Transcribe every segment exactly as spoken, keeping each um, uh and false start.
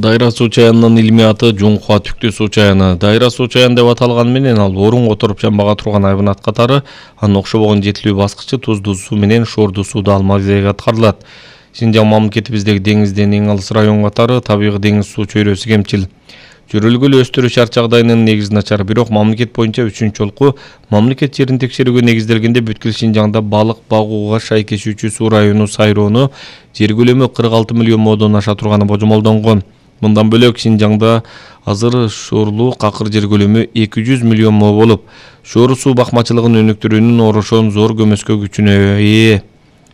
Дайра суу чаянынын илмий аты Жуңхуа Түктүү суу чаяны. Дайра суу чаян деп аталганы менен ал орун отуруп жанбага турган айванат катары анын окшобогон жетилүү баскычы туздуу суу менен шордуу сууда алма-кезек аткарылат. Шинжаң мамлекетибиздеги деңизден эң алыс район катары табигый деңиз суу чөйрөсү кемчил. Жүрүлгүлө өстүрүү шарт жагдайынын негизи начар, бирок мамлекет боюнча үчүнчү жолку мамлекет жерин текшерүүгө негизделгенде бүткүл Шинжаңда балык багууга шайкешүүчү суу району Сайроону жер көлөмү кырк алты миллион модон аша турганы божомолдонгон. Мындан бөлөк Шинжаңда азыр шоорлуу какыр жер көлөмү эки жүз миллион мо болуп, шоор суу бакмачылыгын өнүктүрүүнүн орошон зор көмөскө күчүнө ээ.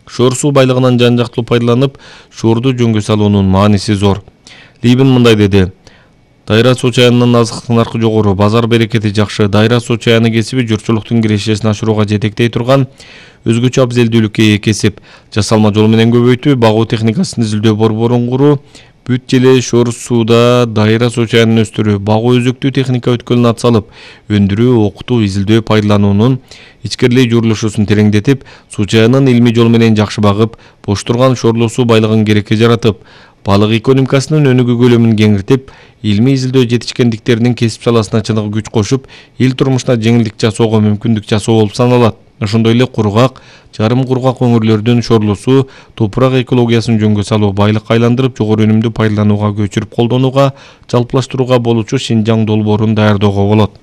Шоор суу байлыгынан жан жактылуу пайдаланып, шоорду жөнгө салуунун мааниси зор. Либин мындай деди: Дайра суу чаянынын азыктык наркы жогору, базар берекети жакшы. Дайра суу чаяны кесиби журтчулуктун кирешесин ашырууга жетектей турган өзгөчө абзелдүүлүккө ээ кесип. Жасалма жол менен көбөйтүү, багуу техникасын изилдөө борборун куруу, бүт желе шоор сууда дайра суу чаянын өстүрүү, багуу өзөктүү техника өткөлүн атсалып, өндүрүү, окутуу, изилдөө, пайдалануунун ичкерилей журулушусун тереңдетип, суу чаянын илмий жол менен жакшы багып, бош турган шоорлуу суу байлыгын керекке жаратып, балык экономикасынын өнүгүү көлөмүн кеңиртип, илмий изилдөө жетишкендиктеринин кесип саласына чыныгы күч кошуп, эл турмушуна жеңилдик жасоого мүмкүндүк жасоо болуп саналат. Ошондой эле кургак, жарым кургак өңүрлөрдүн шоорлуу суу топурак экологиясын жөнгө салуу, байлыкка айландырып, жогору өнүмдүү пайдаланууга көчүрүп колдонууга, жалпылаштырууга болуучу Шинжаң долбоорун даярдоого болот.